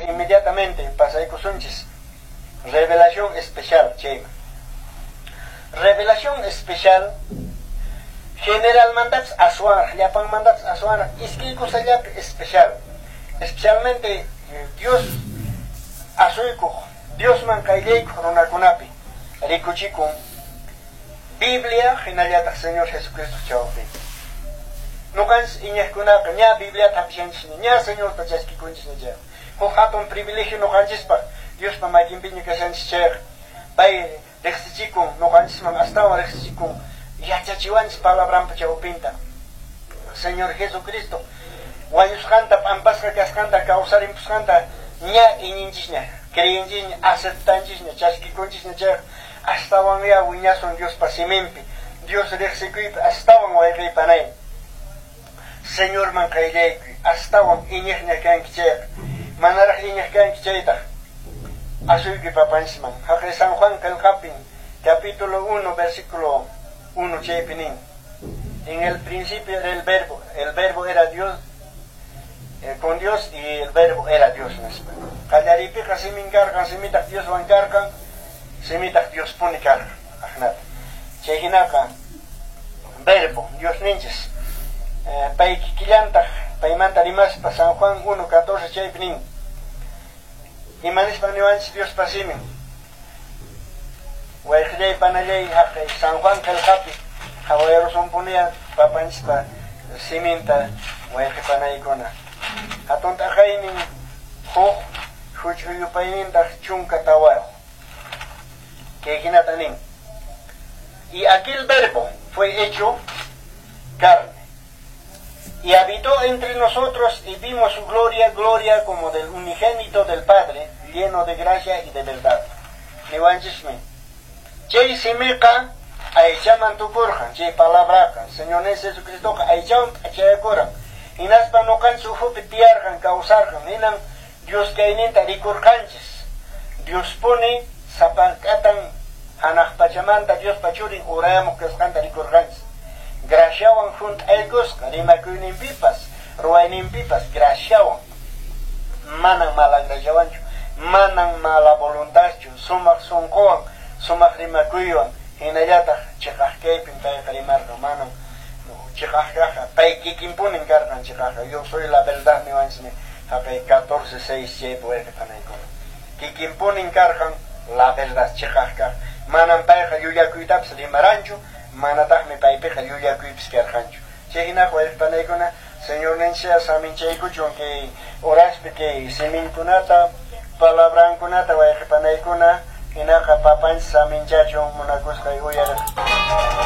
Inmediatamente pasaykusunchis revelación especial chayman. Revelación especial generalmantapas aswanraq, llapanmantapas aswanraq, iskay kusallapi especial. Especialmente Dios asuykuq, Diosman qayllaykuq runakunapi rikuchikun Biblia hinallataq Señor Jesucristo chawpi. Nuqanchis iñiqkunaqa ña Bibliata hap'ishanchisña, ña Señorta chaskikunchisña chayqa. Huk hatun privilegio nuqanchispaq Diospa makinpiña kashanchis chayqa, pay riqsichikun nuqanchisman, astawan riqsichikun, yachachiwanchis palabranpa chawpinta. Señor Jesucristo wañusqanta, p'ampasqa kasqanta, kawsarimpusqanta ña iñinchisña, creyinchisña, aceptanchisña, chaskikunchisña chayqa, astawanya wiñasun Diospa siminpi, Dios riqsikuypi astawan, wayqiy panay. Señorman qayllaykuy, astawan iñiqña kanki chayqa, manaraq iñiq kanki chaytaq, asuykuy papanchisman. Haqay San Juan qillqapin, capítulo 1, versículo 1 chaypi nin: "En el principio era el verbo era Dios, con Dios y el verbo era Dios", nispa. Qallariypiqa simin karqan, simitaq Dioswan karqan, simitaq Diospuni karqan. Ahinata. Chay hinaqa verbo Diosninchis pay kikillantaq paymanta rimaspa San Juan 1:14 chaypi nin. Ima nispa niwanchis Diospa simin? Wayqillay panallay, haqay San Juan qillqapi qhawayarusunpuniya papanchispa siminta, wayqi panaykuna. Hatun t'aqaynin huk, huch'uy yupaynintaq 14. Kay hinata nin: "Y aquel verbo fue hecho carne y habitó entre nosotros y vimos su gloria, gloria como del unigénito del Padre, lleno de gracia y de verdad". Niwanchismi. Chay simiqa aychaman tukurqan, chay palabraqa, Señor Jesucristoqa aychawan p'achayakuran. Hinaspa nuqanchis ukhupi tiyarqan, kawsarqan, hinan Dios kayninta rikurqanchis. Diospuni sapank'atan hanaq pachamanta Diospa churin urayamuq kasqanta rikurqanchis. Graciawan hunt'aykusqa, rimakuyninpipas, ruwayninpipas graciawan. Manan mala graciawanchu, manan mala voluntadchu, sumaq sunquwan, sumaq rimakuywan, hinallataq chiqaq kaypin payqa rimarqan, manan chiqaq kaqqa, pay kikinpunin karqan chiqaqqa. "Yo soy la verdad" niwanchismi haqay 14:6 chaypi, wayqi panaykuna. Kikinpunin karqan la verdad, chiqaq kaq. Manan payqa llullakuytapas rimaranchu, manataqmi paypiqa llullakuypis karqanchu. Chay hinaqa, wayqi panaykuna, Señorninchis saminchaykuchun kay horaspi kay siminkunata, palabrankunata, wayqi panaykuna. Hinaqa papanchis saminchachun, munakusqay uyariq.